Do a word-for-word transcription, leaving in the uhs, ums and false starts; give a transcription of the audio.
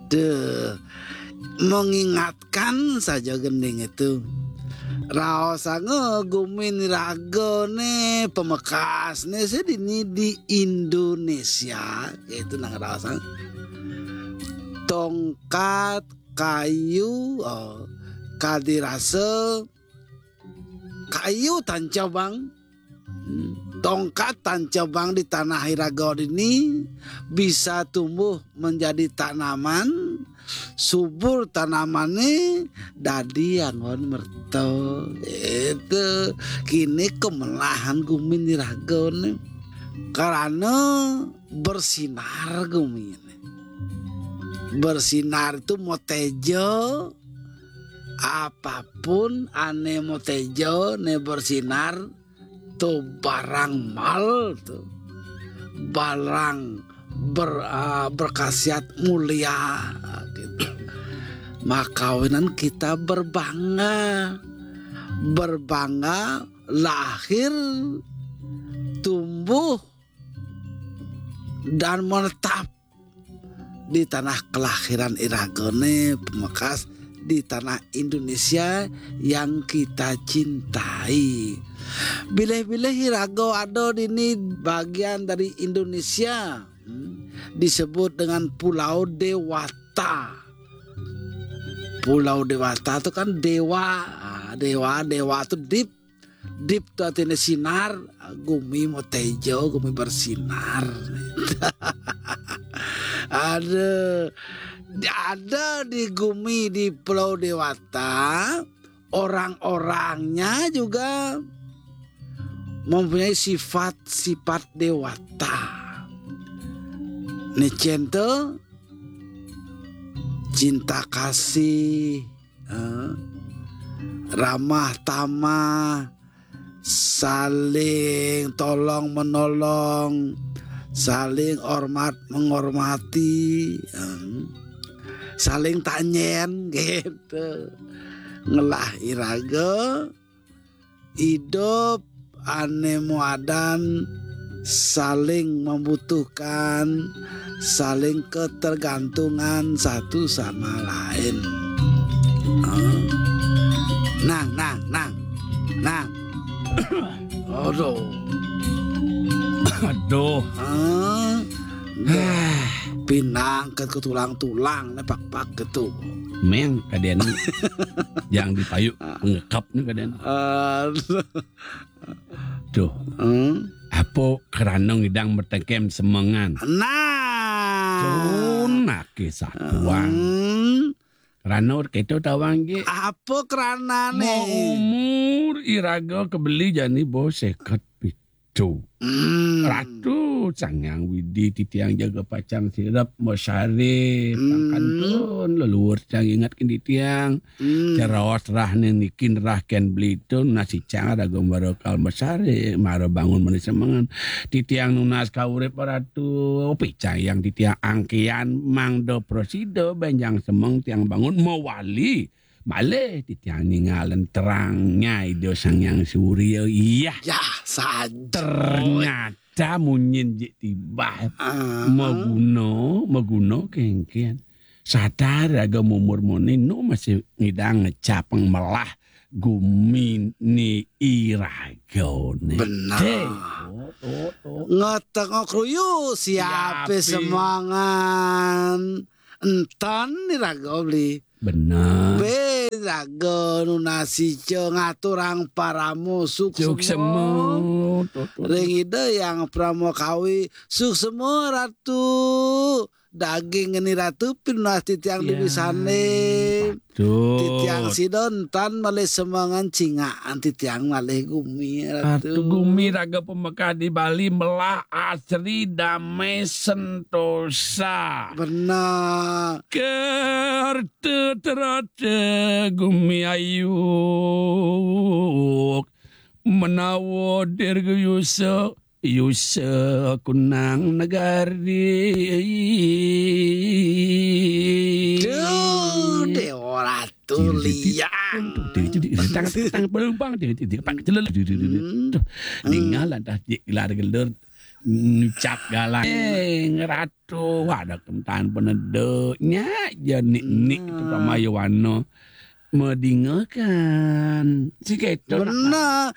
Deh, mengingatkan saja gending itu. Raosanga gumin ragane pamekasne sih dini di Indonesia, itu nang raosang. Tongkat, kayu, oh, kadirasa, kayu tancabang. Hmm, tongkat tancabang di tanah iraga dini bisa tumbuh menjadi tanaman, subur tanamannya dadi anggon merta. Itu kini kemelahan gumin iragane karena bersinar gumin. Bersinar itu motejo, apapun ane motejo ne bersinar, tu barang mal tu, barang ber, ah, berkhasiat mulia gitu. Makawinan kita berbangga, berbangga lahir, tumbuh, dan menetap di tanah kelahiran iragane pemekas, di tanah Indonesia yang kita cintai. Bilih-bilih iraga ada dini bagian dari Indonesia, hmm, disebut dengan Pulau Dewata. Pulau Dewata itu kan dewa, ah, dewa, dewa itu deep. Deep tu artinya sinar, gumi motejo, gumi bersinar. Ada, ada di gumi di Pulau Dewata, orang-orangnya juga mempunyai sifat-sifat dewata. Nicen tu cinta kasih, eh, ramah tamah, saling tolong menolong, saling hormat menghormati, eh, saling tanyen gitu. Ngelah iraga, idup ane muadan saling membutuhkan, saling ketergantungan satu sama lain. Ah. Nang, nang, nang, nang. Aduh. Aduh. Ah. Pinang ke tulang-tulang, nepak-pak gitu. Meng, kaden. Yang dipayu pengekap nih kaden. Aduh. Tuh. Hmm? Apa kerana ngidang mertengkem semengan? Nah. Tunake satuan. Hmm. Kerana kita tawang je. Apa kerana ni? Umur iraga kebeli jani bo seket pitu. Hmm. Ratu Sang Hyang Widi titiang jaga pacang sirep mesare, hmm, pangkantun leluhur sang ingat kin titiang. Hmm. Ceraos rah ne niki nerahken belitung, nasicang raga mara kal mesare, mara bangun mani semengan. Titiang nunas kaurip Ratu, picayang titiang angkian mangda prasida benjang semeng tiang bangun mawali. Malih titiang ningalen terangnya Ida Sang Hyang Surya. Iya. Ya, saja. Ternyata munyin jik tibah. Ah. Maguna, maguna kengken. Sadar raga mumur muni nu masih ngidang ngecapeng melah gumi ni iraga ni. Benar. Deh. Oh, oh, oh. Ngetengok ruyu siape, siape semangan. Entan ni raga beli. Benar. Be raga nunasi ce ngaturang paramo suksema. Suksema. Tuh, tuh, tuh. Ring Ida Yang Parama Kawi, suksema Ratu. Daging ngeni Ratu pinunas titiang, ya, Dewi Sane. Patut. Titiang sida entan malih semengan cingakan titiang malih gumi, Ratu. Ratu gumi raga pemekah di Bali melah asri damai sentosa. Benar. Kerta terata gumi ayu menawa dirgayusa Yusa kunang negari. Duh, Dewa Ratu Liang. Tang, tang, pelumpang. Hmm. Tuh, ningal lantas gelar-gelar. Ncap galak. Eh, ngeratu, ada kemtaan penedeknya, ya nik-nik itu sama Yowana. Medingekan. Si keto nak. Bener.